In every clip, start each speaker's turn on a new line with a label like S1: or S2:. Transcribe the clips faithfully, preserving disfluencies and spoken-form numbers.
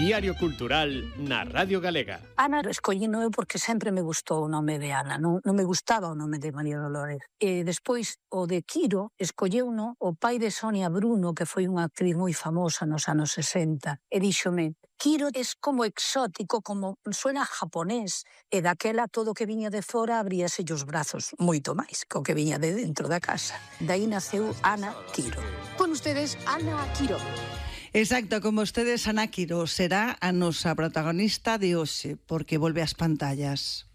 S1: Diario Cultural na Radio Galega.
S2: Ana escollino eu porque sempre me gustou o nome de Ana, non, non me gustaba o nome de María Dolores. E despois o de Quiro escolleuno o pai de Sonia Bruno, que foi unha actriz moi famosa nos anos sesenta, e díxome, Quiro es como exótico, como suena japonés, e daquela todo o que viña de fora abríase os brazos, moito máis que o que viña de dentro da casa. Daí naceu Ana Quiro. Con ustedes, Ana Quiro.
S3: Exacto, como ustedes, Ana Quiro será a nosa protagonista de hoxe, porque volve ás pantallas.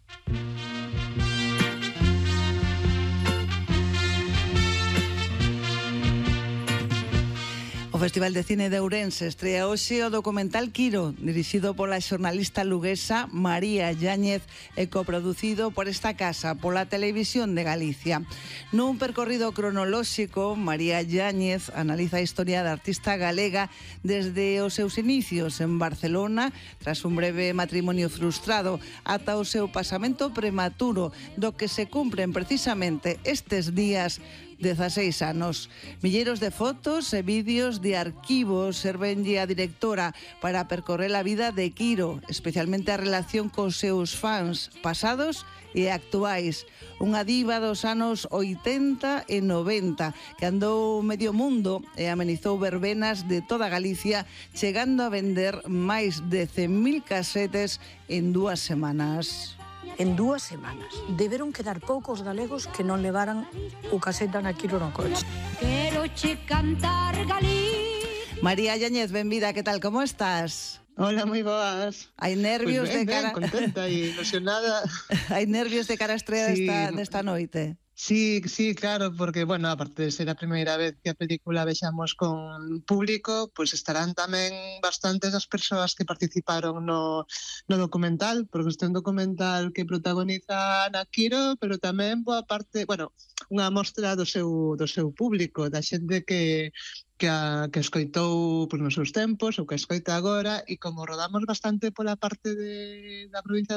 S3: O Festival de Cine de Ourense estrea hoxe o documental Quiro, dirixido pola xornalista luguesa María Yáñez e coproducido por esta casa, pola Televisión de Galicia. Nun percorrido cronolóxico, María Yáñez analiza a historia da artista galega desde os seus inicios en Barcelona, tras un breve matrimonio frustrado, ata o seu pasamento prematuro, do que se cumpren precisamente estes días dezaseis anos. Milleiros de fotos e vídeos de arquivos servenlle a directora para percorrer a vida de Quiro, especialmente a relación cos seus fans pasados e actuais. Unha diva dos anos oitenta e noventa que andou medio mundo e amenizou verbenas de toda Galicia, chegando a vender máis de cen mil casetes en dúas semanas.
S2: En dúas semanas. Deberon quedar poucos galegos que non levaran o caseta na Quiro no coche.
S4: Quero che cantar Galicia.
S3: María Yáñez, benvida, que tal, como estás?
S5: Hola, moi boas.
S3: Hai nervios
S5: pues ben,
S3: de cara...
S5: Ben, contenta e ilusionada.
S3: Hai nervios de cara a estrea
S5: sí.
S3: desta, desta noite.
S5: Sí, sí, claro, porque, bueno, aparte de ser a primeira vez que a película vexamos con público, pois pues estarán tamén bastantes as persoas que participaron no, no documental, porque este é un documental que protagoniza Ana Quiro, pero tamén boa parte, bueno, unha mostra do seu, do seu público, da xente que que, a, que escoitou pues, nos seus tempos, ou que escoita agora, e como rodamos bastante pola parte de, da provincia